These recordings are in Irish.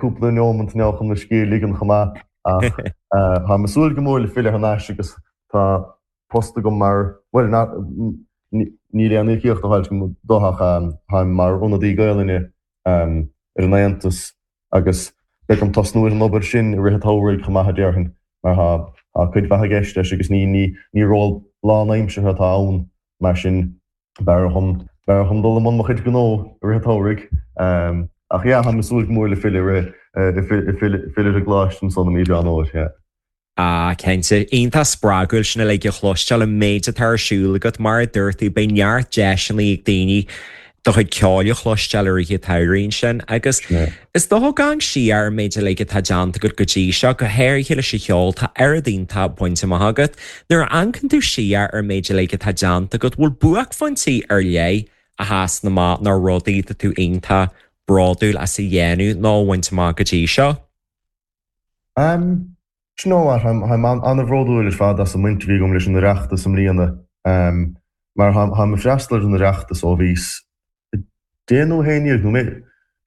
cúpla neomant now chun mo scíth a ligean chomh maith ach táim ag súil go mór le filleadh thar n-ais agus tá post agam mar, bhuel, níl aon íocaíocht á fháilt agam dó ach táim mar ionadaí Gaelainne ar an Aontas agus beidh orm tosnú ar an obair sin i rith an tsamhraidh chomh maith a déarfainn mar tá cuid mhaith i gceist leis agus ní ról lánaimseartha atá ann mar sin b'fhearr dhom b'fhearr dhom dul i mbun mo chuid gnó i rith an tsamhraidh. Ach yeah, táim ag súil go mór le filleadh filleadh ar an gcoláiste ansan i mí Mheán Fhómhair, yeah. Ah, cinnte. Iontach spreagúil sin uilig a chloisteáil, an méid atá ar siúl agat. Mar a dúirt tú, beidh neart deiseanna ag daoine do chuid ceoil a chloisteáil i rith an tsamhraidh ansin. Agus is dócha ag amharc siar ar an méid uilig atá déanta agat go dtí seo, go háirithe leis an cheol, tá oiread iontach bainte amach agat. Nuair a amharcann tú siar ar an méid uilig atá déanta agat, bhfuil buaicphointí ar leith a sheasann amach nó rudaí atá tú iontach bródúil as a dhéanamh nó a bhaint amach go dtí seo? Am, Do you know what, táim an-bhródúil ar fad as an mbaint a bhí agam leis an Oireachtas i mbliana. Mar táim ag freastal ar an Oireachtas ó bhíos 10 nó 11 nó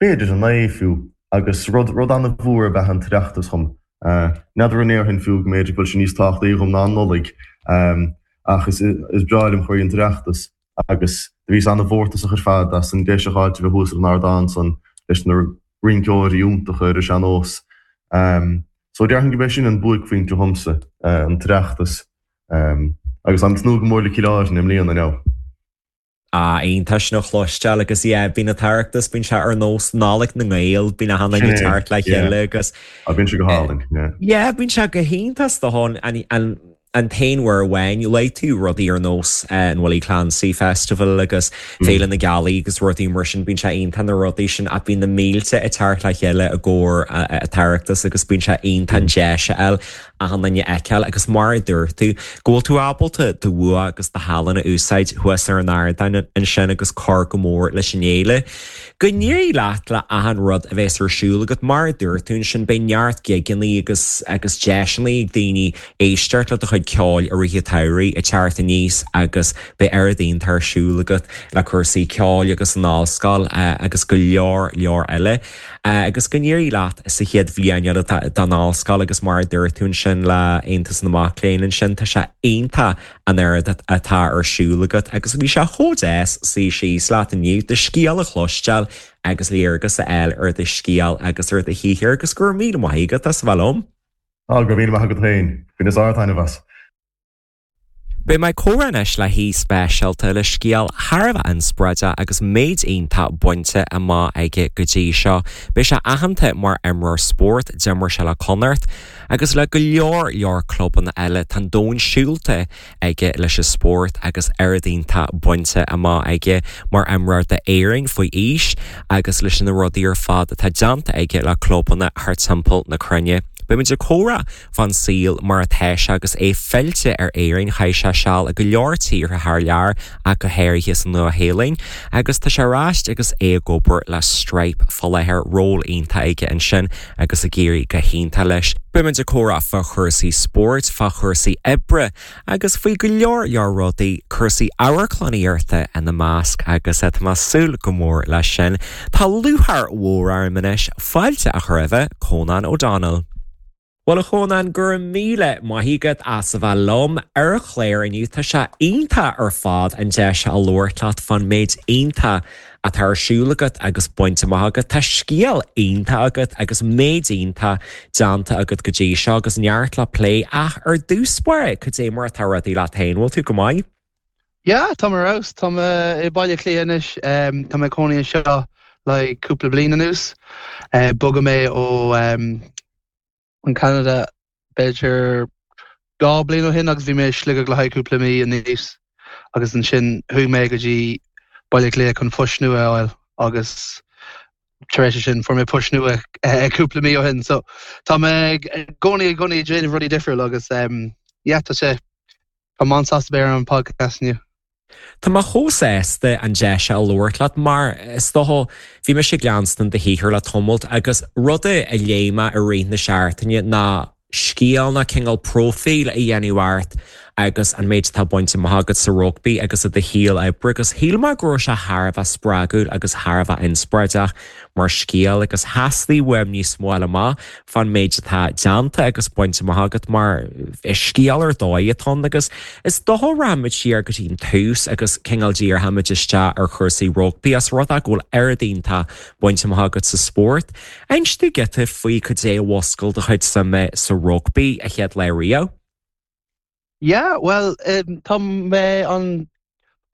b'fhéidir 9 fiú agus rud rud an-mhór ab ea an tOireachtas dhom. N'fheadar an ndéarfainn fiú go mb'fhéidir go bhfuil sé níos tábhachtaí dhom ná an Nollaig ach is is breá liom chroí an tOireachtas agus do bhíos an-mhórtasach ar fad as an deis a fháilt a bheith thuas ar an ardán san leis na rinceoirí iontacha ar an sean-nós. So déarfainn gurb é sin an buaicphointe dhomsa, an tOireachtas. Agus táim ag tnúth go mór le Cill Airne i mbliana now. Ah, iontach sin a chloisteáil agus yeah, bíonn an tOireachtas, bíonn sé ar nós Nollaig na nGael, bíonn achan duine ag teacht le chéile agus. Ah, bíonn sé go hálainn, yeah. Yeah, bíonn sé go hiontach is dócha an, an, an t-aon uair amháin, luaigh tú rudaí ar nós an Willie Clancy Festival agus Féile na Gealaí agus rudaí mar sin, bíonn sé iontach na rudaí sin ach bíonn na mílte ag teacht le chéile i gcomhair an tOireachtas agus bíonn sé iontach an deis a fháil achan duine a fheiceáil agus mar a dúirt tú, go bhfuil tú ábalta do bhua agus do thallann a úsáid thuas ar an ardán ansin agus cur go mór leis an fhéile. Go n-éirí leat le achan rud a bheas ar siúl agat, mar a dúirt tú ansin, beidh neart gigeanna agus agus deiseanna ag daoine éisteacht le do chuid ceoil i rith an tsamhraidh ag teacht aníos agus beidh oiread iontach ar siúl agat le cúrsaí ceoil agus an ollscoil agus go leor leor eile. Agus go n-éirí leat sa chéad bhliain eile den ollscoil agus mar a dúirt tú ansin le Aontas na Mac Léinn ansin, tá sé iontach an oiread atá ar siúl agat agus bhí sé chomh deas suí síos leat inniu, do scéal a chloisteáil agus léargas a fháil ar do scéal agus ar do shaothar agus go raibh míle maith agat as a bheith liom. Á, go raibh míle maith agat féin. Bhaineas ard-taitneamh as. Beidh mé ag comhrá anois le haoi speisialta le scéal thar a bheith inspioráideach agus méid iontach bainte amach aige go dtí seo. Beidh sé aitheanta mar imreoir spóirt, d'imir sé le Connacht agus le go leor leor clubanna eile. Tá an domhan siúlta aige leis an spórt agus oiread iontach bainte amach aige mar imreoir d'Éirinn faoi aois agus leis na rudaí ar fad atá déanta aige le clubanna thar timpeall na cruinne. Beimid ag comhrá fán saol mar atá sé agus é fillte ar Éirinn. Chaith sé seal i go leor tíortha thar lear ach go háirithe sa Nua-Shéalainn agus tá sé ar ais agus é ag obair le Stripe fá láthair, ról iontach aige ansin agus ag éirí go hiontach leis. Beimid ag comhrá fá chúrsaí spóirt, fá chúrsaí oibre agus faoi go leor leor rudaí, cúrsaí amharclannaíochta ina measc agus tá mé ag súil go mór leis sin. Tá lúcháir mhór orm anois fáilte a chur roimhe, Cónán O'Donnell. Bhuel a Chónáin, go raibh míle maith agat as a bheith liom ar an chlár inniu. Tá sé iontach ar fad an deis a labhairt leat fán méid iontach atá ar siúl agat agus bainte amach agat. Tá scéal iontach agat agus méid iontach déanta agat go dtí seo agus neart le plé ach ar dtús báire, cad é mar atá rudaí leat féin? Bhfuil tú go maith? Yeah, tá mé ar fheabhas. Tá mé i Baile Átha Cliath anois. Tá mé ag cónaí anseo le cúpla bliain anuas. Bhog mé ó an Canada b'fhéidir 2 bliain ó shin agus bhí mé i Sligeach le haghaidh cúpla mí aníos agus ansin chuaigh mé go dtí Baile Átha Cliath chun post nua a fháil agus tar éis sin fuair mé post nua cúpla mí ó shin so tá mé i gcónaí i gcónaí ag déanamh rudaí difriúil agus yeah tá sé Tá mé an-sásta bheith ar an podcast inniu. Tá mé chomh sásta an deis seo a labhairt leat mar is dócha bhí mise ag leanstan do shaothar le tamalt agus rud a léigh mé i rith na seachtaine ná scéal nó cineál próifíl a dhéanamh ort. agus an méid atá bainte amach agat sa rugbaí agus i do shaol oibre agus shíl mé go raibh sé thar a bheith spreagúil agus thar a bheith inspioráideach mar scéal agus theastaigh uaim níos mó a fháil amach fán méid atá déanta agus bainte amach agat mar is scéal ar dóigh atá ann agus is dócha rachaimid siar go dtí an tús agus cineál díreoimid isteach ar chúrsaí rugbaí os rud é go bhfuil oiread iontach bainte amach agat sa spórt. Inis dúinn giota faoi cad é a mhúscail do chuid suime sa rugbaí a chéad lá riamh. Yeah, bhuel, tá mé an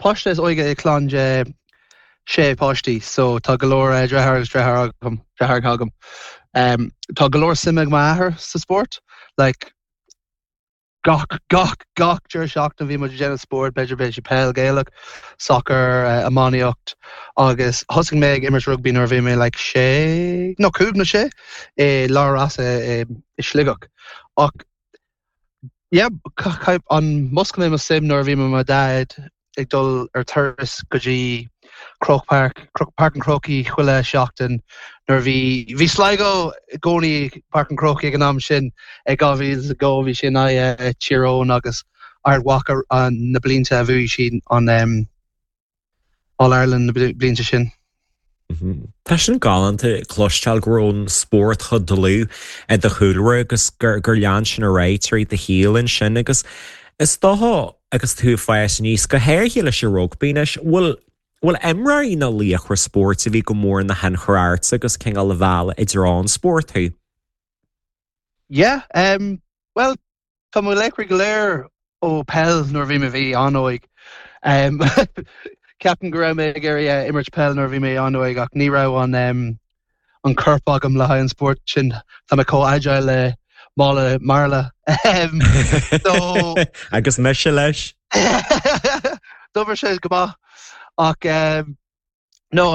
páiste is óige i clann de sé páistí, so tá go leor deartháir agus deartháir agam, deartháireacha agam. Tá go leor suime ag m'athair sa spórt, like gach, gach, gach deireadh seachtaine bhí muid ag déanamh spórt, b'fhéidir bheadh sé peil Gaelach, soccer, iománaíocht agus thosaigh mé ag imirt rugbaí nuair a bhí mé like sé, no cúig nó sé i Lár Rossa i Sligeach. Ach Yeah, an mhúscail mé mo suim nuair a bhí mé mo dhaid ag dul ar turas go dtí Croke Park, Páirc an Chrócaigh chuile seachtain nuair a bhí, bhí Sligo i gcónaí i Páirc an Chrócaigh ag an am sin, ag 2002 bhí sé in aghaidh Tír Eoghain agus Ard Mhacha na blianta a bhuaigh siad an All Ireland na blianta sin. Tá sin galánta cloisteáil go raibh an spórt chomh dlúth i do chúlra agus gur lean sin ar aghaidh tríd do shaol ansin agus is dócha agus tú ag fás aníos, go háirithe leis an rugbaí anois, bhfuil bhfuil imreoirí nó laochra spóirt a bhí go mór ina thionchar ortsa agus cineál a mheall i dtreo an spóirt thú? Yeah, um, well, Tá mo laochraí go léir ó peil nuair a bhí mé bhí an-óig. Ceapaim go raibh mé ag iarraidh imirt peil nuair a bhí mé an-óig ach ní raibh an an corp agam le haghaidh an spórt sin. Tá mé chomh agile le mála marla. So Agus mise leis. D'oibir sé go maith ach No,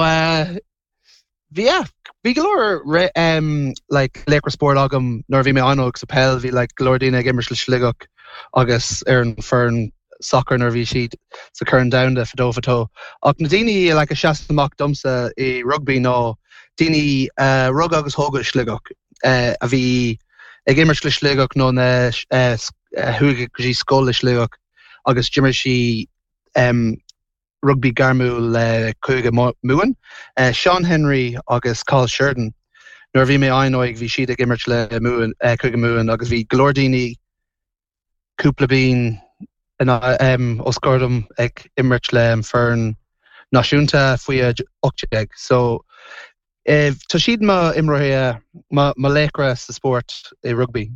bhí, yeah, bhí go leor like laochra spóirt agam nuair a bhí mé an-óg sa peil, bhí like go leor daoine ag imirt le Sligeach agus ar an foireann soccer nuair a bhí siad sa Corn Domhanda fadó fadó. Ach na daoine like a sheas amach domsa i rugbaí ná daoine a rugadh agus tógadh i Sligeach, a bhí ag imirt le Sligeach nó na a chuaigh go dtí scoil i Sligeach agus d'imir siad rugbaí gairmiúil le Cúige Mumhan, Seán Henry agus Cathal Sheridan. Nuair a bhí mé an-óig bhí siad ag imirt le Cúige Mumhan agus bhí go leor daoine cúpla bliain os comhair dom ag imirt le an foireann náisiúnta faoi 18. So tá siad mo imreoirí, mo laochra sa spórt i rugbaí.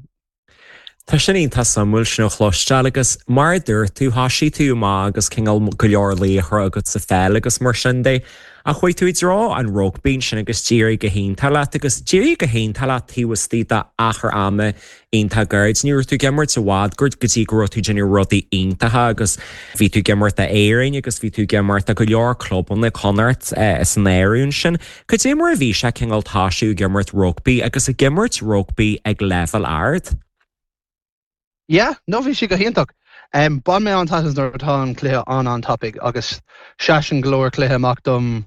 Tá sin iontach suimiúil sin a chloisteáil agus mar a dúirt tú, thoisigh tú amach agus cineál go leor laochra agat sa pheil agus mar sin de, ach chuaigh tú i dtreo an rugbaí ansin agus d'éirigh go hiontach leat agus d'éirigh go hiontach leat taobh istigh d'achar ama iontach gairid. Ní raibh tú ag imirt i bhfad go dtí go raibh tú ag déanamh rudaí iontacha agus bhí tú ag imirt d'Éirinn agus bhí tú ag imirt do go leor clubanna Connacht san áireamh ansin. Cad é mar a bhí sé cineál toisiú ag imirt rugbaí agus ag imirt rugbaí ag leibhéal ard? Yeah, no bhí sé go hiontach. Um, bain mé an-taitneamh nuair atá an cluiche an-an-tapaidh agus seasann go leor cluiche amach dom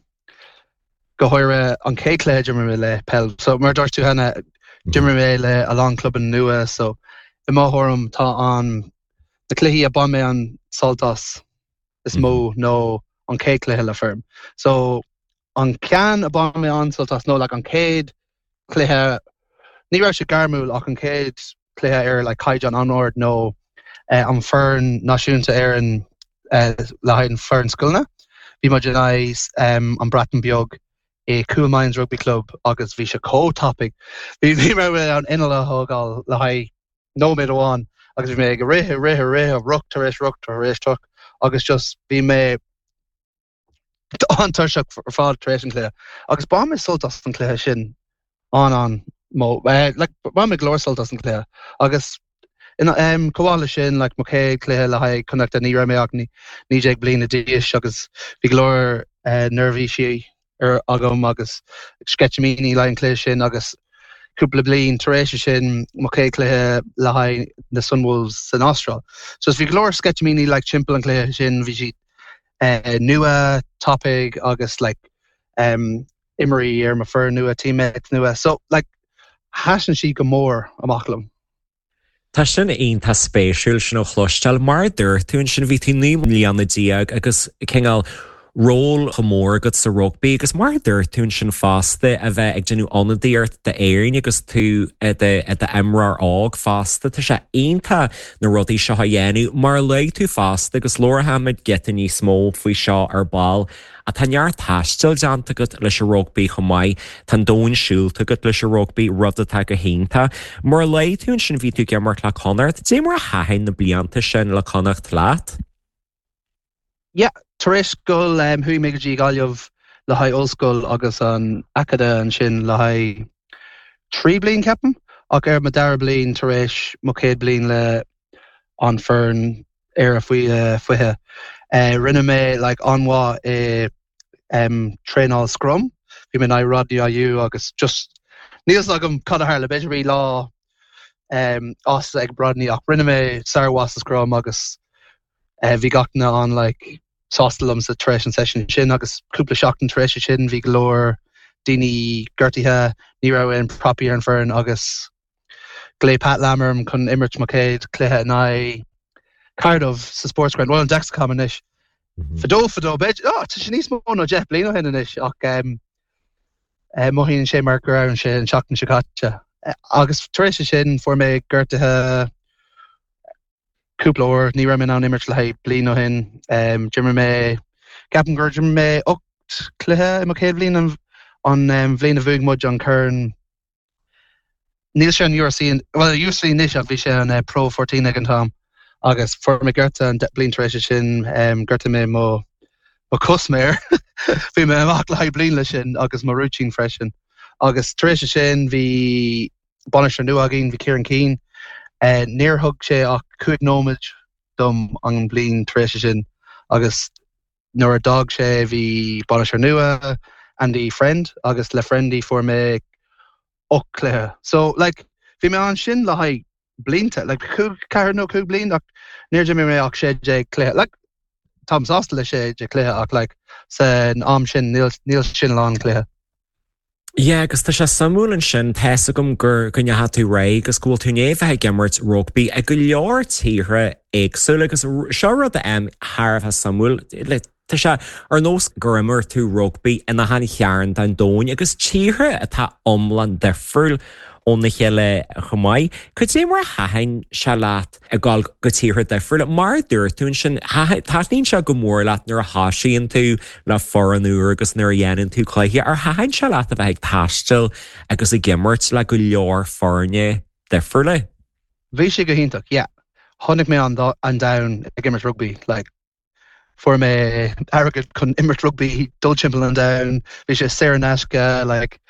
go háirithe an chéad cluiche a d'imir mé le peil. So mar a dúirt tú cheana, d'imir mé le a lán clubanna nua so i mo thuairim tá an na cluichí a bain mé an sult as is mó nó an chéad cluiche le foireann. So an ceann a bain mé an-sult as nó like an chéad cluiche ní raibh sé gairmiúil ach an chéad cluiche ar like caighdeán an-ard nó eh, an foireann náisiúnta Éireann eh, le haghaidh an foireann scoileanna. Bhí muid in aghaidh um, an Breatain Beag i Coolmines Rugby Club agus bhí sé chomh tapaidh. Bhí bhí mé an inneall a thógáil le haghaidh nóiméad amháin agus bhí mé ag rith, rith, rith, ruc tar éis ruc tar éis ruc agus just bhí mé an-tuirseach ar fad tar éis an cluiche. Agus bain mé sult as an cluiche sin an an mó eh, like, bain mé go leor sult as an cluiche agus in, um, chomh maith leis sin like, mo chéad cluiche le haghaidh Connachta ní raibh mé ach 19 bliana d'aois agus bhí go leor uh, neirbhísí ar agam agus sceitimíní le haghaidh an cluiche sin agus cúpla bliain tar éis sin mo chéad cluiche le haghaidh na Sunwolves san Astráil. So bhí go leor sceitimíní like timpeall an cluiche sin bhí siad uh, nua tapaidh agus like um, imreoirí ar mo foireann nua teammates nua. So like thaitin siad go mór amach liom. Tá sin iontach spéisiúil sin a chloisteáil. Mar a dúirt tú ansin, bhí tú 19 mbliana agus cineál ról chomh mór agat sa rugbaí agus mar a dúirt tú ansin fosta, a bheith ag déanamh ionadaíocht d'Éirinn agus tú i d'imreoir óg fosta. Tá sé iontach na rudaí seo a dhéanamh. Mar a luaigh tú fosta, agus labharfaimid giota níos mó faoi seo ar ball, Ach tá neart taistil déanta agat leis an rugbaí chomh maith. Tá an domhan siúlta agat leis an rugbaí, rud atá go hiontach. Mar a luaigh tú ansin, bhí tú ag imirt le Connacht. Dé mar a thaitin na blianta sin le Connacht leat? Yeah, tar éis scoil chuaigh mé go dtí Gaillimh le haghaidh ollscoil agus an Acadamh ansin le haghaidh 3 bliain ceapaim, ach ar mo dara bliain tar éis mo chéad bliain le an foireann Éire faoi 20. Rinne mé like an-mhaith i traenáil scrum. Bhí mé in aghaidh Rodney Ah You agus just níl fhios agam cad a tharla, b'fhéidir bhí lá as ag Rodney ach rinne mé sármhaith sa scrum agus bhí gach duine an like sásta liomsa tar éis an session sin agus cúpla seachtain tar éis sin bhí go leor daoine gortaithe, ní raibh aon prapaí ar an foireann agus Ghlaoigh Pat Lam orm chun imirt mo chéad chluiche in aghaidh Cardiff sa Sportsground, bhuel an Dexcom anois. Fadó fadó, b'fhéidir, oh, tá sé níos mó ná 10 bliain ó shin anois ach um, eh, mothaíonn sé mar go raibh sé an seachtain seo caite. Eh, agus tar éis sin fuair mé gortaithe cúpla uair, ní raibh mé in ann imirt le haghaidh bliain ó shin. Um, d'imir mé, ceapaim gur d'imir mé 8 cluiche i mo chéad bhliain an, an um, bhliain a bhuaigh muid an corn Níl sé an URC, bhuel URC anois ach bhí sé an Pro 14 ag an t-am agus fuair mé gortú an bliain tar éis sin, ghortaigh mé mo mo chos méar, bhí mé amach le haghaidh bliain leis sin agus mo rúitín freisin. Agus tar éis sin bhí bainisteoir nua againn, bhí Kieran Keane, níor thug sé ach 5 nóiméad dom an bliain tar éis sin agus Nuair a d'fhág sé bhí bainisteoir nua, Andy Friend, agus le Friendy fuair mé 8 cluiche. So like bhí mé ansin le haghaidh blianta, like cúig, ceathair nó cúig bliain ach níor d'imir mé ach 16 cluiche. Like táim sásta le 16 cluiche ach like san am sin níl níl sin a lán cluiche. Yeah, agus tá sé suimiúil ansin, tá's agam gur go ndeachaigh tú ar aghaidh agus go bhfuil tú i ndiaidh bheith ag imirt rugbaí i go leor tíortha éagsúla agus seo rud a thar a bheith suimiúil, like, tá sé ar nós gur imir tú rugbaí in achan chearn den domhain agus tíortha atá iomlán difriúil óna chéile chomh maith. Cad é mar a thaitin sé leat ag dul go tíortha difriúla. Mar a dúirt tú ansin, taitníonn sé go mór leat nuair a thosaíonn tú le foireann úr agus nuair a dhéanann tú cluiche. Ar thaitin sé leat a bheith ag taisteal agus ag imirt le go leor foirne difriúla? Bhí sé go hiontach, yeah. Chonaic mé an domhan ag imirt rugbaí, like fuair mé airgead chun imirt rugbaí, dul timpeall an domhain, bhí sé saor in aisce, like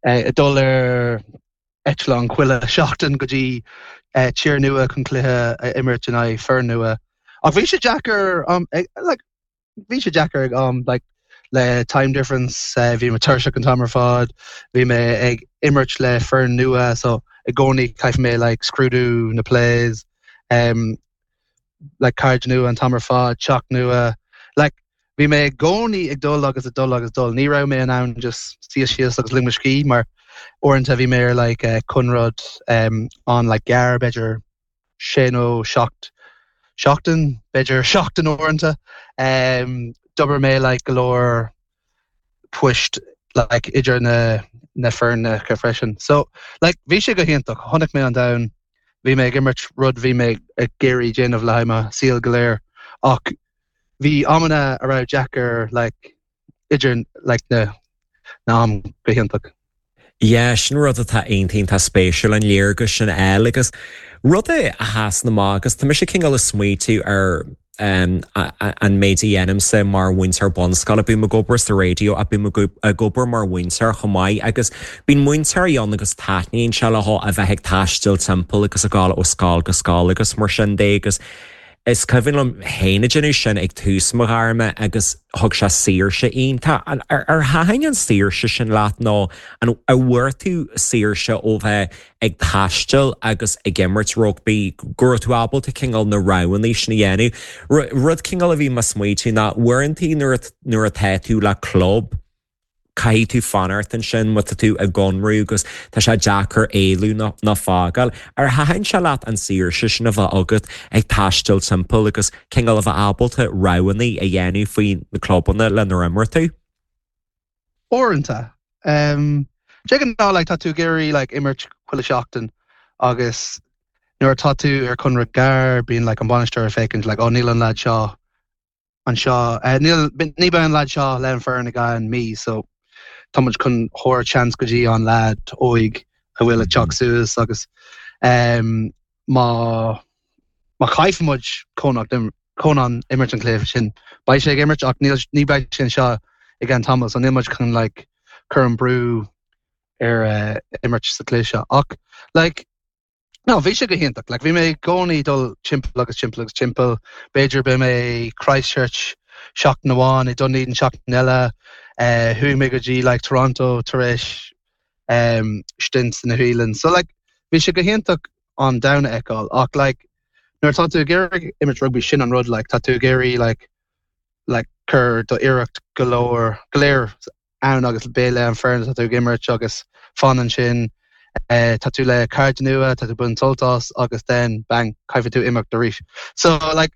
ag dul ar eitleán chuile seachtain go dtí tír nua chun cluiche a imirt in aghaidh foireann nua. Ach bhí sé deacair um, like, bhí sé deacair ag am like, le time difference, bhí mé tuirseach an t-am ar fad, bhí mé ag imirt le foireann nua so i gcónaí caithfidh mé like, scrúdú na plays, um, like cairde nua an t-am ar fad, teach nua, like bhí mé i gcónaí ag dul agus ag dul agus ag dul, ní raibh mé in ann just suí síos agus lig mo scíth mar uaireanta bhí mé ar like conradh um, an like gearr b'fhéidir sé nó seacht seachtain, b'fhéidir seachtain uaireanta. Um, d'obair mé like go leor poist like idir na na foirne freisin. So like bhí sé go hiontach, chonaic mé an domhan, bhí mé ag imirt rud bhí mé ag iarraidh déanamh le haghaidh mo saol go léir ach bhí amanna a raibh deacair like idir like na na am go hiontach. Yeah, sin rud atá iontach iontach spéisiúil, an léargas sin a fháil agus rud a sheasann amach agus tá mise cineál ag smaoitiú ar an méid a dhéanaimse mar mhúinteoir bunscoile, bím ag obair sa raidió ach bím ag obair mar mhúinteoir chomh maith agus bíonn múinteoirí ann agus taitníonn sé leo a bheith ag taisteal timpeall agus ag dul ó scoil go scoil agus mar sin de agus Is cuimhin liom féin ag déanamh sin ag tús mo ghairme agus thug sé saoirse iontach. Ar thaitin an saoirse sin leat nó an bhfuair tú saoirse ó bheith ag taisteal agus ag imirt rugbaí, go raibh tú ábalta cineál na roghanna sin a dhéanamh? Rud cineál a bhí mé ag smaoitiú ná uaireanta nuair atá tú le club. Caithfidh tú fanacht ansin má tá tú i gconradh agus tá sé deacair éalú nó fágáil. Ar thaitin sé leat an saoirse sin a bheith agat ag taisteal timpeall agus cineál a bheith ábalta roghanna a dhéanamh faoi na clubanna lenar imir tú? Uaireanta. De ghnáth like tá tú ag iarraidh like imirt chuile seachtain agus nuair atá tú ar conradh gearr bíonn like an bainisteoir ag féachaint like oh níl an leaid seo anseo. Níl, ní beidh an leaid seo le an foireann i gceann mí so tá muid chun thabhairt seans go dtí an leaid óig a bhfuil ag teacht suas agus má má chaithfidh muid Conán Conán imirt an cluiche sin beidh sé ag imirt ach níl ní beidh sé anseo i gceann tamall so níl muid chun like cur an brú ar imirt sa cluiche seo ach like No, bhí sé go hiontach. Like, bhí mé i gcónaí dul timpeall agus timpeall agus timpeall. B'fhéidir beidh mé i Christchurch seachtain amháin, i Dunedin seachtain eile. Eh, chuaigh mé go dtí like, Toronto tar éis um, stint sa Nua-Shéalainn. So like, bhí sé go hiontach an domhan a fheiceáil. Ach like, nuair atá tú ag iarraidh imirt rugby, sin an rud, like, tá tú ag iarraidh like, like, cur do iarracht go leor, go léir ann agus beidh le an foireann atá tú ag imirt agus fan ansin, tá tú le cairde nua, tá tú ag baint sult as agus then bang, caithfidh tú imeacht arís. So like,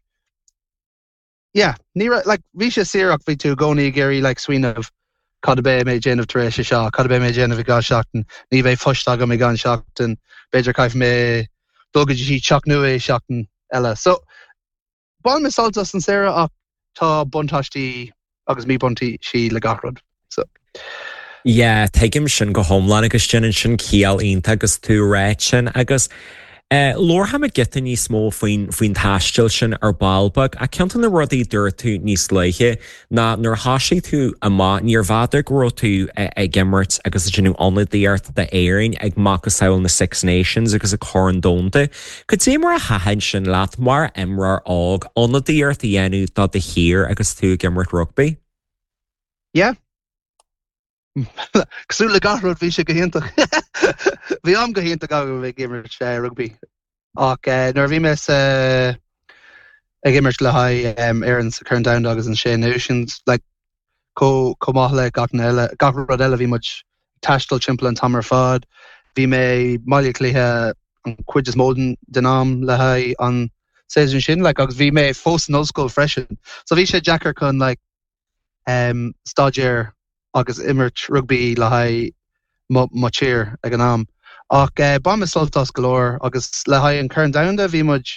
yeah, ní raibh, like, bhí sé saor ach bhí tú i gcónaí ag iarraidh like smaoineamh cad a beidh mé ag déanamh tar éis seo, cad a beidh mé ag déanamh i gceann seachtain, ní bheidh post agam i gceann seachtain, b'fhéidir caithfidh mé dul go dtí teach nua i seachtain eile. So, Bhain mé sult as an saoire ach tá buntáistí agus míbhuntáistí le gach rud. So. Yeah, tuigim sin go hiomlán agus déanann sin ciall iontach agus tú ag ráit sin agus eh, labharfaimid giota níos mó faoin faoin taisteal sin ar ball beag ach ceann de na rudaí a dúirt tú níos luaithe ná nuair a thosaigh tú amach níorbh fhada go raibh tú ag imirt agus ag déanamh ionadaíocht d'Éirinn ag macasamhail na Six Nations agus ag Corn Domhanda. Cad é mar a thaitin sin leat mar imreoir óg, ionadaíocht a dhéanamh do do thír agus tú ag imirt rugbaí? Yeah. Cosúil le gach rud bhí sé go hiontach. Bhí am go hiontach agam ag imirt rugbaí. Ach nuair a bhí mé sa ag imirt le haghaidh Éireann sa Chorn Domhanda agus an Sé Náisiún, like, chomh maith le gach eile, gach rud eile bhí muid ag taisteal timpeall an t-am ar fad. Bhí mé i mBaile Átha Cliath an chuid is mó den am le haghaidh an séasúr sin like, agus bhí mé fós san ollscoil freisin. So bhí sé deacair chun like, um, staidéar agus imirt rugbaí le haghaidh mo, mo tír ag an am. Ach eh, bhain mé sult as go leor agus le haghaidh an Chorn Domhanda bhí muid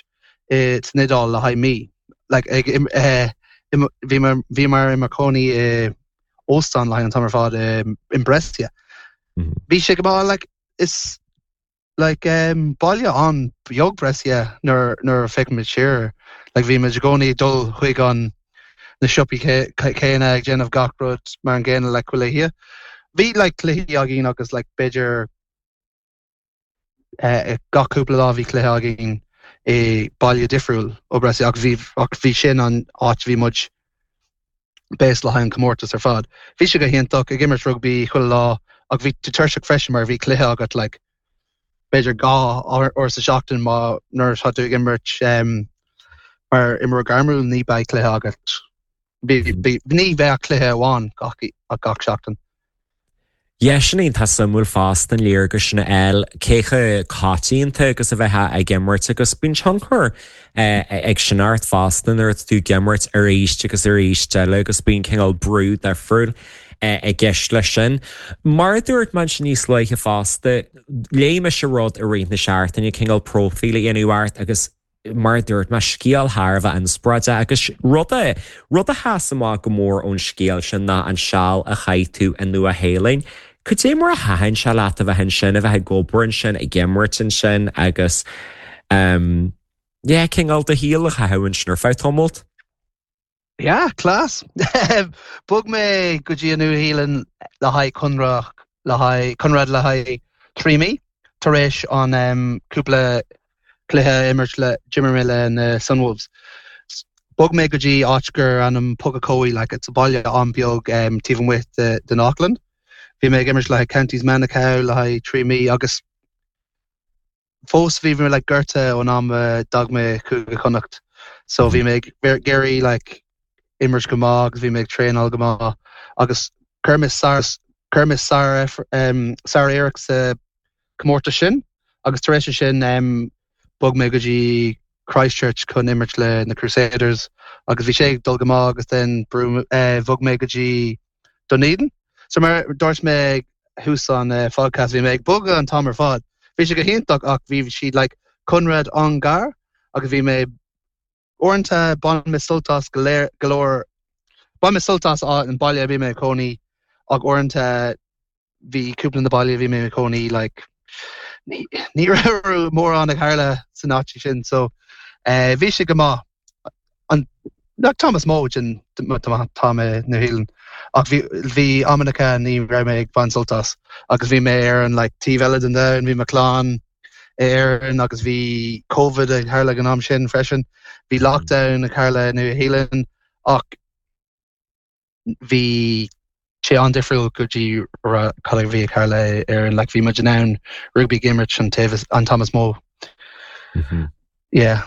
i san Iodáil le haghaidh mí. Like, ag, eh, bhí mé, bhíomar i mo chónaí i óstán le haghaidh an t-am ar fad i, in Brescia. Mm -hmm. Bhí sé go maith like, is Like, baile an-bheag Brescia nuair nuair a féachaimid siar. Like, bhí muid i gcónaí ag dul chuig an na siopaí céanna ag déanamh gach rud mar an gcéanna like chuile oíche. Bhí like cluichí againn agus like b'fhéidir eh, gach cúpla lá bhí cluiche againn i baile difriúil ó Brescia ach bhí ach bhí sin an áit a bhí muid based le haghaidh an comórtas ar fad. Bhí sé go hiontach ag imirt rugbaí chuile lá ach bhí tú tuirseach freisin mar bhí cluiche agat like b'fhéidir 2 uair sa seachtain má nuair atá tú ag imirt um, mar imreoir gairmiúil ní beidh cluiche agat. Bhí, bhí, ní bheadh cluiche amháin gach, gach seachtain. Yeah, sin iontach suimiúil fosta an léargas sin a fháil cé chomh coitianta agus a bheifeá ag imirt agus bíonn tionchar ag sin ort fosta nuair atá tú ag imirt arís agus arís eile agus bíonn cineál brú difriúil i gceist leis sin. Mar a dúirt mé ansin níos luaithe fosta, léigh mise rud i rith na seachtaine, cineál próifíl a dhéanamh ort agus mar a dúirt mé, scéal thar a bheith inspioráideach agus rud a, rud a sheas amach go mór ón scéal sin ná an seal a chaith tú i Nua-Shéalainn. Cad é mar a thaitin sé leat a bheith ansin, a bheith ag obair ansin, ag imirt ansin agus ehm, yeah, cineál do shaol a chaitheamh ansin ar feadh tamalt? Yeah, class. Bhog mé go dtí an Nua-Shéalainn le haghaidh conradh le haghaidh conradh le haghaidh 3 mí tar éis an um, cúpla cluiche a imirt le d'imir mé le na Sunwolves. Bhog mé go dtí áit gur ainm Pukekohe, like it's a baile an-beag um, taobh amuigh de, den Auckland. Bhí mé ag imirt le haghaidh Counties Manukau le haghaidh 3 mí agus fós bhí mé like gortaithe ón am a d'fhág mé Cúige Chonnacht so bhí mé ag iarraidh like imirt go maith agus bhí mé ag traenáil go maith agus chuir mé sar. Chuir mé sár-iarracht sa comórtas sin agus tar éis sin bhog mé go dtí Christchurch chun imirt le na Crusaders agus bhí sé ag dul go maith agus then bhog mé go dtí Dunedin. So mar dúirt mé ag thús an phodcast bhí mé ag bogadh an t-am ar fad. Bhí sé go hiontach ach bhí siad like conradh an-ghearr agus bhí mé Uaireanta bhain mé sult as go léir, go leor, bhain mé sult as an baile a bhí mé ag cónaí ach uaireanta bhí cúpla na baile a bhí mé ag cónaí like ní ní raibh mórán ag tharla san áit sin so eh bhí sé go maith an like t-am is mó den t-am i New Zealand ach bhí bhí amanna ní raibh mé ag baint sult as agus bhí mé ar an like taobh eile den domhan bhí mo chlann Éirinn agus bhí Covid ag tharla ag an am sin freisin. Bhí lockdown ag tharla i Nua Shéalainn ach bhí sé an-difriúil go dtí cad a bhí ag tharla i Éirinn. Like bhí muid in ann rugbaí ag imirt an taobh an t-am is mó. Yeah.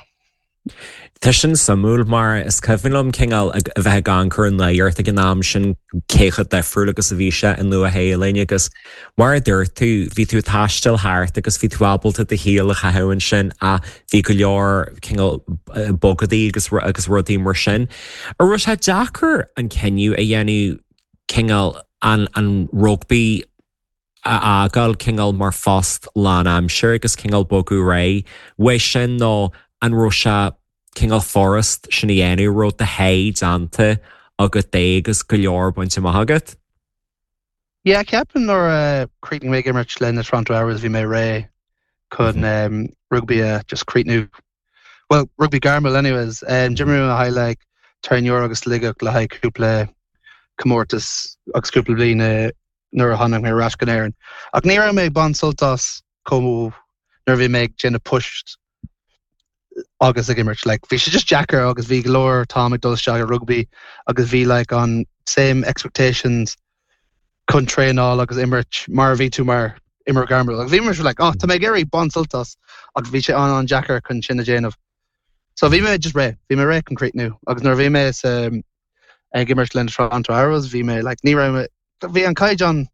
Tá sin suimiúil mar is cuimhin liom cineál a bheith ag amharc ar an nuacht ag an am sin cé chomh difriúil agus a bhí sé i Nua Shéalainn agus mar a dúirt tú, bhí tú ag taisteal thart agus bhí tú ábalta do shaol a chaitheamh ansin ach bhí go leor cineál bogadaí agus agus rudaí mar sin. An raibh sé deacair an cinneadh a dhéanamh cineál an an rugbaí a fhágáil cineál mar phost lánaimseartha agus cineál bogadh ar aghaidh uaidh sin nó an raibh sé cineál furast sin a dhéanamh, raibh do sháith déanta agat de agus go leor bainte amach agat? Yeah, ceapaim nuair a chríochnaigh mé ag imirt le na Toronto Arrows bhí mé réidh chun rugbaí a just críochnú. Well, rugbaí gairmiúil anyways. D'imir mé le haghaidh like Terenure agus Sligeach le haghaidh cúpla comórtas agus cúpla bliain nuair a tháinig mé ar ais go Éirinn. Ach ní raibh mé ag baint sult as chomh nuair a bhí mé ag déanamh poist agus ag imirt. Like, bhí sé just deacair agus bhí go leor t-am ag dul isteach i rugbaí agus bhí like an same expectations chun traenáil agus imirt mar a bhí tú mar imreoir gairmiúil. Agus bhí mé like, oh, tá mé ag iarraidh baint sult as ach bhí sé an-an-deacair chun sin a dhéanamh. So bhí mé just réidh, bhí mé réidh chun críochnú agus nuair a bhí mé sa ag imirt le na Toronto Arrows bhí mé like ní raibh mé bhí an caighdeán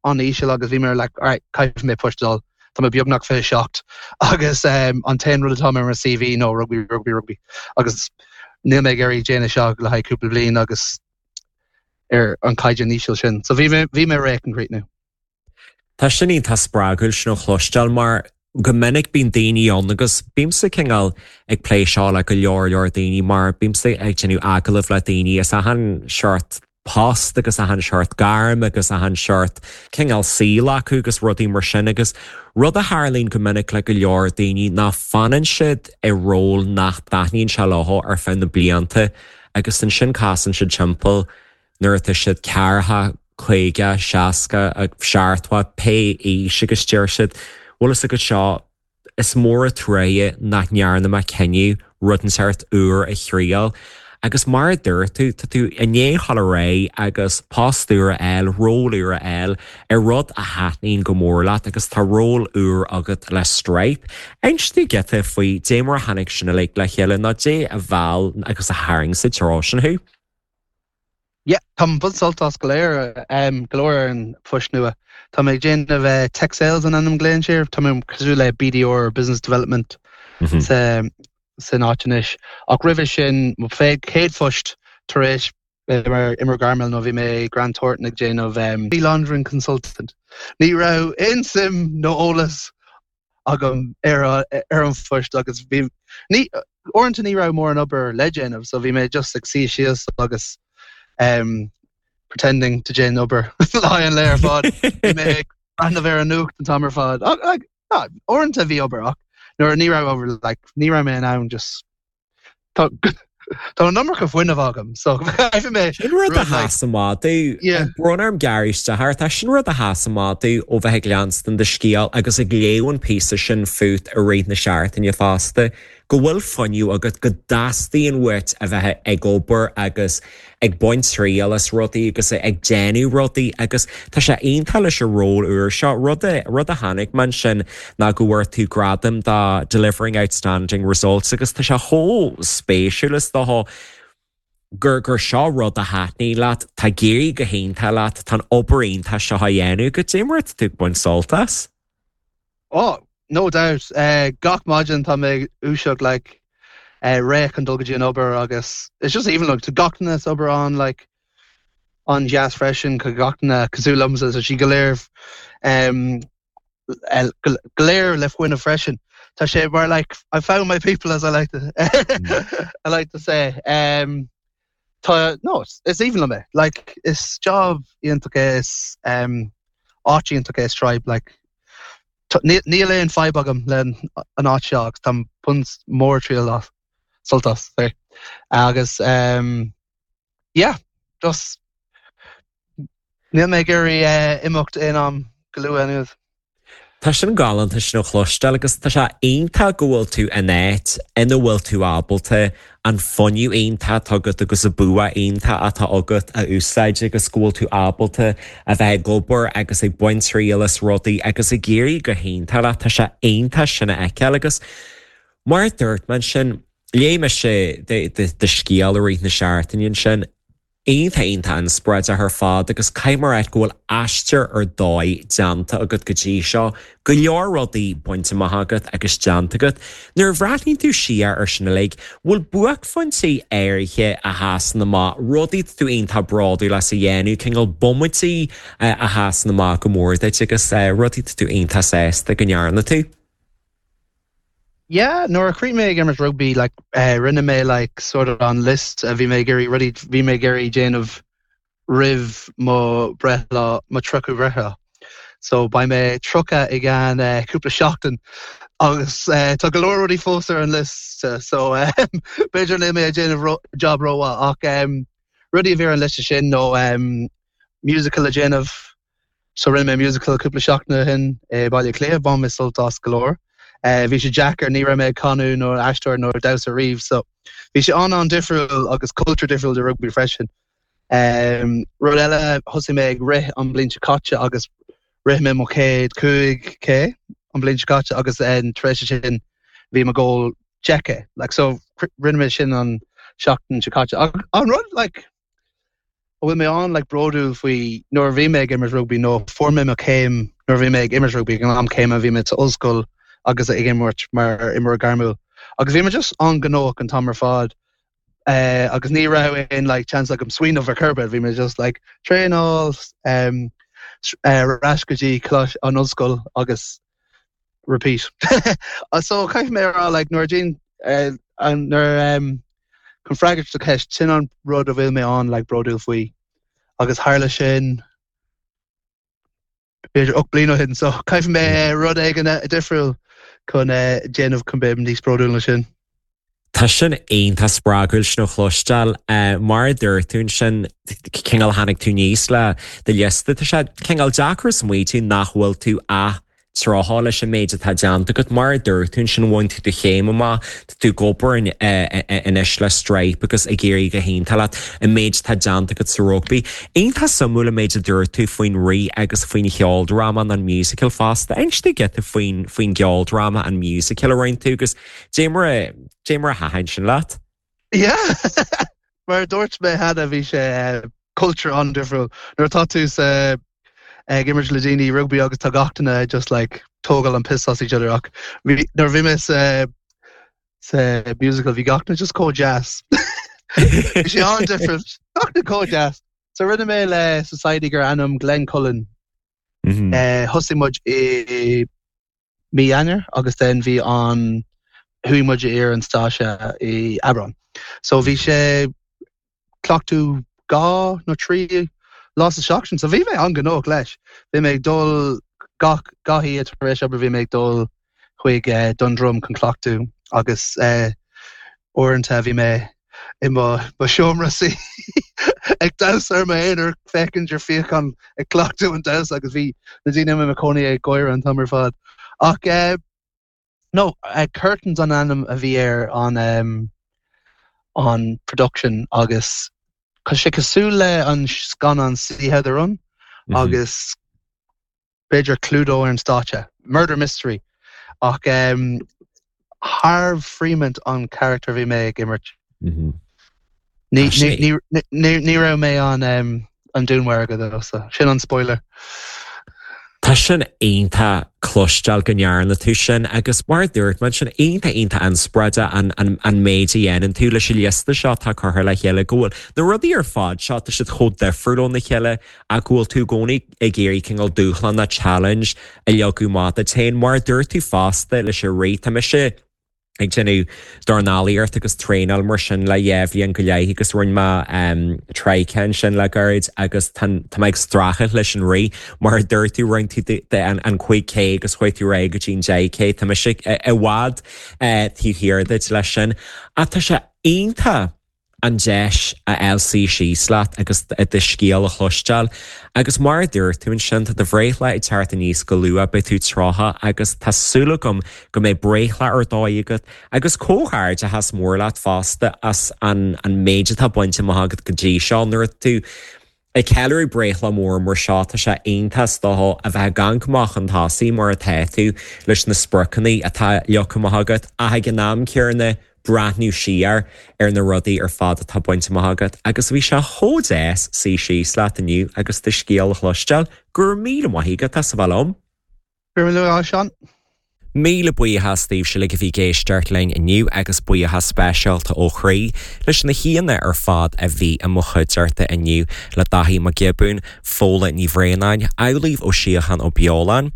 an-íseal agus bhí mé like alright caithfidh mé post a fháil tá mé beagnach 27 agus um, an t-aon rud atá ar mo CV ná rugbaí rugbaí rugbaí agus níl mé ag iarraidh déanamh seo le haghaidh cúpla bliain agus ar an caighdeán íseal sin. So bhí mé bhí mé réidh chun críochnú. Tá sin iontach spreagúil sin a chloisteáil mar go minic bíonn daoine ann agus bímse cineál ag plé seo le go leor leor daoine mar bímse ag déanamh agallamh le daoine as achan seort post agus achan seort gairm agus achan seort cineál saoil acu agus rudaí mar sin agus rud a tharlaíonn go minic le go leor daoine ná fanann siad i ról nach dtaitníonn sé leo ar feadh na blianta agus ansin casann siad timpeall nuair atá siad ceathracha, 50, 60, 70, pé aois agus deir siad, bhfuil fhios agat seo, is mór an truaighe nach ndearna mé cinneadh rud inteacht úr a thriail. Agus mar a dúirt tú, tá tú i ndiaidh dhul ar aghaidh agus post úr a fháil, ról úr a fháil ar rud a thaitníonn go mór leat agus tá ról úr agat le Stripe. Inis dúinn giota faoi dé mar a tháinig sin uilig le chéile nó dé a mheall agus a tharraing sa treo sin thú. Yeah, tá mé ag baint sult as go léir, go leor ar an phost nua. Tá mé ag déanamh tech sales an ainm glaonn sé air. Tá mé cosúil le BDR, Business Development sa san áit anois. Ach roimhe sin, mo chéad phost tar éis bheith mar imreoir gairmiúil nó bhí mé i Grant Thornton ag déanamh money laundering consultant. Ní raibh aon suim nó eolas agam ar ar an phost agus bhí ní uaireanta ní raibh mórán obair le déanamh so bhí mé just ag suí síos agus um, pretending to déanamh obair lá an lae ar fad. Bhí mé ag breathnú ar an nuacht an t-am ar fad. Like, uaireanta bhí obair ach nuair ní raibh obair like, ní raibh mé in ann just Tá an iomarca fuinnimh agam so caithfidh mé Sin rud a sheas amach domh. Brón orm gearradh isteach ort ach sin rud a sheas amach domh ó bheith ag leanstan do scéal agus ag léamh an píosa sin fút i rith na seachtaine fosta, go bhfuil fuinneamh agat, go dteastaíonn uait a bheith ag obair agus ag baint triail as rudaí agus ag déanamh rudaí agus tá sé iontach leis an ról úr seo. Rud a, rud a chonaic mé ansin ná go bhfuair tú gradam do Delivering Outstanding Results agus tá sé chomh spéisiúil is dócha. gur gur seo rud a thaitníonn leat, tá ag éirí go hiontach leat, tá an obair iontach seo á dhéanamh agat, cad é mar atá tú ag baint sult as? Oh, no doubt. Gach maidin tá mé ag dúiseacht like réidh chun dul go dtí an obair agus it's just aoibhinn liom. Tá gach duine sa obair an like an-deas freisin, tá gach duine cosúil liomsa, so siad go léir go léir le fuinneamh freisin. Tá sé mar like I found my people as I like to I like to say. Um, tá no, is aoibhinn liom é. Like is job iontach é is um, áit iontach é Stripe like níl aon fadhb agam le an áit seo agus táim ag baint mór triail as sult as sorry. Agus um, yeah, just níl mé ag iarraidh imeacht aon am go luath anuas. Tá sin galánta sin a chloisteáil agus tá sé iontach go bhfuil tú in áit ina bhfuil tú ábalta an fuinneamh iontach atá agat agus an bua iontach atá agat a úsáid agus go bhfuil tú ábalta a bheith ag obair agus ag baint triail as rudaí agus ag éirí go hiontach leat. Tá sé iontach sin a fheiceáil agus mar a dúirt mé ansin, Léigh mise do scéal i rith na seachtaine ansin. Iontach iontach inspioráideach ar fad agus caithfidh mé a rá go bhfuil aistear ar dóigh déanta agat go dtí seo, go leor rudaí bainte amach agat agus déanta agat. Nuair a bhreathnaíonn tú siar ar sin uilig, bhfuil buaicphointí áirithe a sheasann amach, rudaí atá tú iontach bródúil as a dhéanamh, cineál bomaití a sheasann amach go mór duit agus rudaí atá tú iontach sásta go ndearna tú? Yeah, nuair a chríochnaigh mé ag imirt rugbaí, like, eh, rinne mé like sort of an list a bhí mé ag iarraidh, rudaí bhí mé ag iarraidh déanamh roimh mo breithlá, mo 30ú breithlá. So beidh mé 30 i gceann eh, cúpla seachtain agus eh, tá go leor rudaí fós ar an list so eh, b'fhéidir níl mé ag déanamh ro job rómhaith ach em, rudaí a bhí ar an liosta sin nó em, musical a déanamh So rinne mé musical cúpla seachtain ó shin i Baile Átha Cliath, bhain mé sult as go leor. Bhí sé deacair, ní raibh mé ag canadh nó aisteoir nó damhsa riamh so bhí sé an-an-difriúil agus cultúr difriúil de rugbaí freisin. Rud eile, thosaigh mé ag rith an bhliain seo caite agus rith mé mo chéad 5K an bhliain seo caite agus tar éis sin bhí mo goal 10K. Like so rinne mé sin an seachtain seo caite. An rud like a bhfuil mé an like bródúil faoi nuair a bhí mé ag imirt rugbaí nó fuair mé mo chéim nuair a bhí mé ag imirt rugbaí ag an am céanna bhí mé sa ollscoil agus ag imirt mar imreoir gairmiúil agus bhí mé just an-ghnóthach an t-am ar fad eh, agus ní raibh aon like chance agam smaoineamh ar chor ar bith bhí mé just like traenáil um, eh, ar ais go dtí an ollscoil agus repeat. So caithfidh mé a rá like nuair a déan eh, nuair um, chun freagairt do cheist sin an rud a bhfuil mé an like bródúil faoi agus tharla sin b'fhéidir 8 bliain ó shin so caithfidh mé rud éigin eh, difriúil chun eh, déanamh chun bheith níos bródúil ná sin. Tá sin iontach spreagúil sin a chloisteáil. Mar a dúirt tú ansin, cineál tháinig tú aníos le do liosta. Tá sé cineál deacair smaoitiú nach bhfuil tú ach 30 leis an méid atá déanta agat. Mar a dúirt tú ansin, bhain tú do chéim amach, tá tú ag obair anois le Stripe agus ag éirí go hiontach leat an méid atá déanta agat sa rugbaí. Iontach suimiúil an méid a dúirt tú faoin rith agus faoin cheoldráma an musical fosta. Inis dúinn giota faoin faoin gceoldráma an musical a rinne tú agus Dé mar a, dé mar a thaitin sin leat? Yeah! Mar a dúirt mé cheana bhí sé cultúr an-difriúil. Nuair atá tú sa ag imirt le daoine rugbaí agus tá gach duine just like tógáil an piss as each other ach bhí nuair a bhí mé sa sa musical bhí gach duine just chomh deas. Bhí sé an-difriúil. Gach duine chomh deas. So rinne mé le society gur ainm Glencullen. Thosaigh muid i mí Eanáir agus then bhí an, chuaigh muid ar an stáitse i Aibreán. So bhí sé cleachtadh dhá nó trí lá sa seachtain. So bhí mé an-ghnóthach leis. Bhí mé ag dul gach gach oíche tar éis obair bhí mé ag dul chuig Dundrum chun cleachtadh agus uaireanta bhí mé i mo seomra suí ag damhsa ar m'aonar féachaint ar físeán ag cleachtadh an damhsa agus bhí na daoine i mo chónaí ag gáire an t-am ar fad. Ach eh, no, eh, Curtains an ainm a bhí ar an um, an production agus tá sé cosúil le an scannán See How They Run mm -hmm. agus b'fhéidir Cluedo ar an stáitse, murder mystery, ach Harv Freemont an charachtar a bhí mé ag imirt. Ní ní raibh mé an an dúnmhargadh though, so sin an spoiler. Tá sin iontach cloisteáil go ndearna tú sin agus mar a dúirt mé sin iontach iontach inspioráideach an an an méid a dhéanann tú leis an liosta seo atá curtha le chéile go bhfuil na rudaí ar fad seo tá siad chomh difriúil óna chéile ach go bhfuil tú i gcónaí ag iarraidh cineál dúshlán nó challenge a leagadh amach duit féin. Mar a dúirt tú fosta leis an rith tá mise ag déanamh dornálaíocht agus traenáil mar sin le dhá bhliain go leith agus rinne mé 3K ansin le gairid agus tá mé ag streachailt leis an rith. Mar a dúirt tú, rinne tú an 5K agus chuaigh tú ar aghaidh go dtí an 10K. Tá mise i bhfad taobh thiar duit leis sin. Ach tá sé iontach! an deis a fháil suí síos leat agus do scéal a chloisteáil. Agus mar a dúirt tú ansin, tá do bhreithlá ag teacht aníos go luath, beidh tú 30 agus tá súil agam go mbeidh breithlá ar dóigh agat agus comhghairdeachas mór leat fosta as an méid atá bainte amach agat go dtí seo. Nuair atá tú Ag ceiliúradh breithlá mór mar seo, tá sé iontach is dócha a bheith ag amharc amach chun tosaigh mar atá tú leis na spriocanna atá leagtha amach agat ach ag an am céanna breathnú siar ar na rudaí ar fad atá bainte amach agat agus bhí sé chomh deas suí síos leat inniu agus do scéal a chloisteáil. Go raibh míle maith agat as a bheith liom. Go raibh míle maith agat, Seán. Míle buíochas daoibhse uilig a bhí ag éisteacht linn inniu agus buíochas speisialta ó chroí leis na haíonna ar fad a bhí i mo chuideachta inniu, le Daithí Mac Giobúin, Fódhla Ní Bhraonáin, Amhlaoibh Ó Síocháin Ó Beoláin,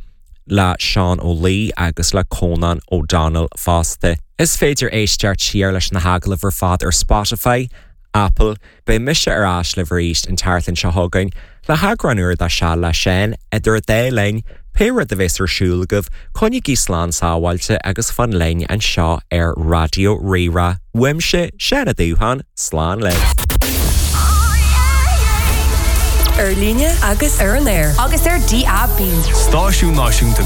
le Seán Ó Laoi agus le Cónán O'Donnell fosta. Is féidir éisteacht siar leis na hagallaimh ar fad ar Spotify, Apple, Beidh mise ar ais libh arís an tseachtain seo chugainn le heagrán úr de Seal le Seán, idir an dá linn, pé rud a bheas ar siúl agaibh, coinnígí slán sábháilte agus fan linn anseo ar Raidió Rí-Rá. Uaimse, Seán Ó Dúcháin, slán libh. Ar líne agus ar an aer. Agus ar DAB. Stáisiún Náisiúnta.